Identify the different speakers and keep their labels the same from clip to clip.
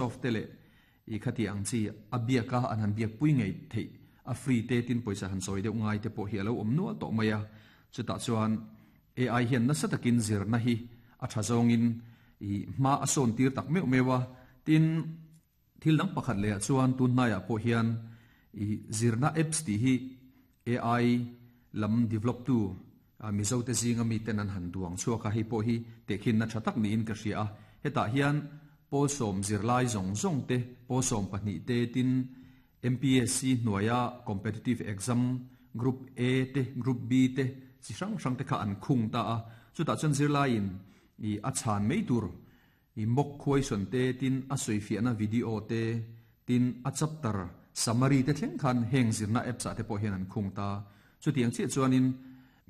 Speaker 1: Microsoft te leh i khati ang chi a biak a an han biak pui ngei theih a free te tin pawisa han sawi deuh ngai te pawh hi a lo awm nual tawh mai a. Chutah chuan AI hian nasa takin zirna hi a tha zawngin i hma a sawn tir tak meuh meuh a. Tin, thil dang pakhat leh ah chuan tun hnaiah pawh hian i zirna apps tih hi AI lam develop tu Mizo te zinga miten an han duang chhuak a, hei pawh hi tehkhinna tha tak niin ka hria a. Hetah hian pawl sawm zirlai zawng zawng te, pawl 12 te tin MPSC hnuaia competitive exam group A te, group B te chi hrang hrang te kha an khung ta a. Chutah chuan zirlaiin i a chhan mai tur i mock question te tin a sawifiahna video te tin a chapter summary te thleng khan heng zirna apps ah te pawh hian an khung ta. Chutiang chiah chuanin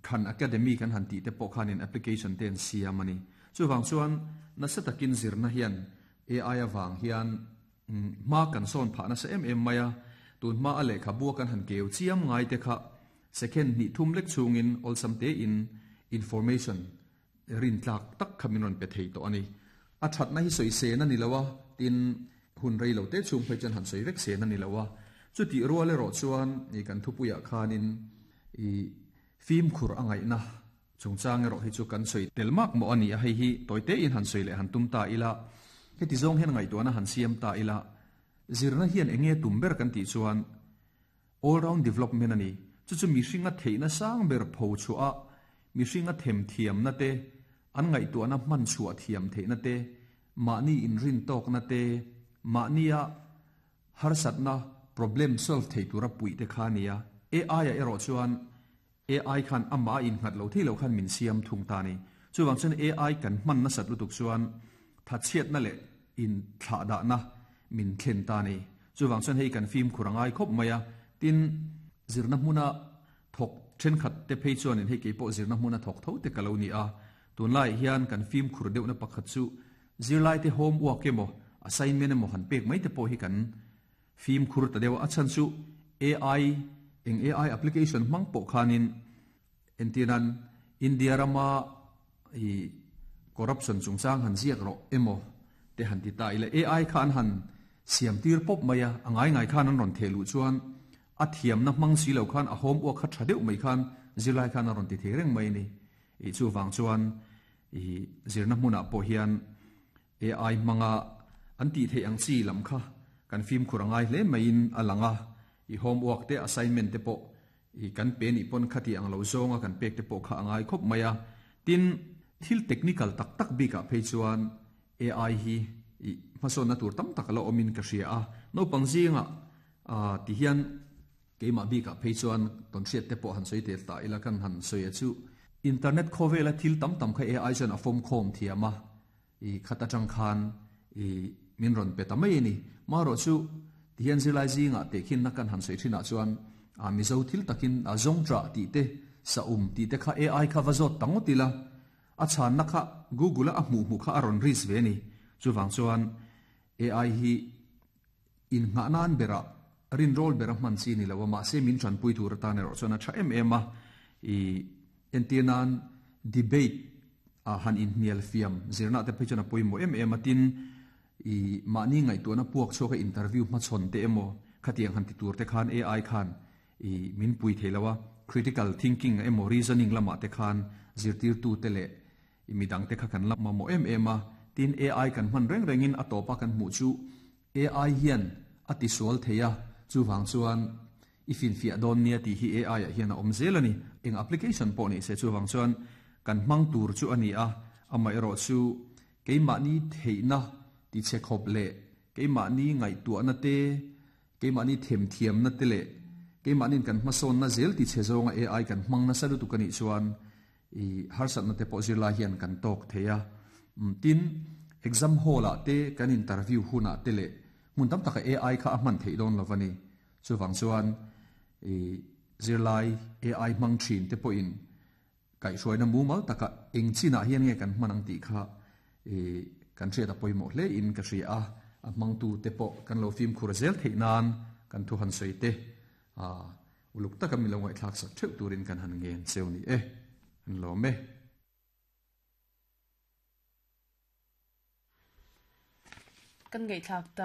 Speaker 1: Khan Academy kan han tih te pawh khanin application te an siam a ni. Chuvang chuan nasa takin zirna hian AI avang hian hma kan sawn phah nasa em em mai a, tun hma a lehkhabua kan han keu chiam ngai te kha second hnih thum lek chhungin awlsam tein information rin tlak tak kha min rawn pe thei tawh a ni. A thatna hi sawi sen a ni lo a, tin hun rei lo te chhung phei chuan han sawi vek sen a ni lo a. Chutih rual erawh chuan i kan thupuiah khanin i fimkhur a ngaihna chungchang erawh hi chu kan sawi tel mak mawh a ni a, hei hi tawi tein han sawi leh han tum ta ila, heti zawng hian ngaihtuahna han siam ta ila, zirna hian eng nge tum ber kan tih chuan All round development a ni. Chu chu mihringa theihna sang ber pho chhuah a, mihringa themthiamna te, an ngaihtuahna hman chhuah thiam theihna te, mahni inrin tawkna te, mahnia harsatna, problem, solve thei tura puih te kha a ni a. AI ah erawh chuan AI khan amah a innghat lo thei lo khan min siam thung ta a ni. Chuvang chuan AI kan hman nasat lutuk chuan thatchhiatna leh inthlahdahna min thlen ta a ni. Chuvang chuan hei kan fimkhur a ngai khawp mai a, tin zirna hmuna thawk thenkhat te phei chuanin hei keipawh zirna hmuna thawk tho te ka lo ni a, tunlaiah hian kan fimkhur deuhna pakhat chu zirlaite homework emaw assignment emaw han pek mai te pawh hi kan Fimkhur ta deuh a chhan chu AI, eng AI application hmang pawh khanin entirnan India rama i corruption chungchang han ziak rawh emaw te han ti ta ila AI kha an han siam tir pawp mai a, a ngai ngai khan an rawn theh luh chuan a thiamna hmang si lo khan a homework kha tha deuh mai khan zirlai khan a rawn ti thei reng mai a ni. I chuvang chuan i zirna hmunah pawh hian AI hmanga an tih theih ang chi lam kha kan fimkhur a ngai hle maiin a lang a, i homework te assignment te pawh i kan pe nih pawn khati ang lo zawnga kan pek te pawh kha a ngai khawp mai a. Tin, thil technical tak tak bikah phei chuan AI hi i hmasawnna tur tam tak a la awmin ka hria a, naupang zingah ti hian keimah bikah phei chuan tawnhriat te pawh han sawi tel ta ila kan han sawi a chu. Internet khawvela thil tam tam kha AI chuan a fawmkhawm thiam a, I khat atang khan i min rawn pe ta mai a ni. Marawh chu tihian zirlai zingah tehkhinna kan han sawi thinah chuan a Mizo thil takin a zawngṭah tih te, saum tih te kha AI kha va zawt ta ngawt ila, a chhanna kha Google-a a hmuh hmuh kha a rawn risk ve a ni. Chuvang chuan AI hi innghah nan berah rinrawl bera hman chi a ni lo a, mahse min tanpui tur atan erawh chuan a tha em em a. I entir nan debate ah han inhnial fiam zirna te phei chuan a pawimawh em em a, tin i mahni ngaihtuahna puak chhuak a interview hmachhawn te emaw khatiang han ti tur te khan AI khan i min pui thei lo a, critical thinking emaw reasoning lamah te khan zirtirtu te leh i midang te kha kan la mamawh em em a, tin AI kan hman reng rengin a tawpa kan hmuh chu AI hian a tisual thei a, chuvang chuan i finfiah dawn nia tih hi AI ah hian a awm zel a ni. Eng application pawh ni se chuvang chuan kan hmang tur chu a ni a, amaherawh chu keimahni theihna tichhe khawp leh keimahni ngaihtuahna te, keimahni themthiamna te leh keimahniin kan hmasawnna zel tichhe zawnga AI kan hmang nasa lutuk a nih chuan I harsatna te pawh zirlai hian kan tawk thei a. Tin, exam hall ah te kan interview hunah te leh hmun tam taka AI kha a hman theih dawn lo a ni. Chuvang chuan i zirlai AI hmang thin te pawhin kaihhruaina mumal taka eng chinah hian nge kan hman ang tih kha i kan hriat a pawimawh hle in ka hria a. A hmangtu te pawh kan lo fimkhur zel theih nan kan thu han sawi te a Uluk taka mi lo ngaihthlak sak theuh turin kan han ngen cheu ni e. An lawm e.
Speaker 2: Kan ngaihthlak ta.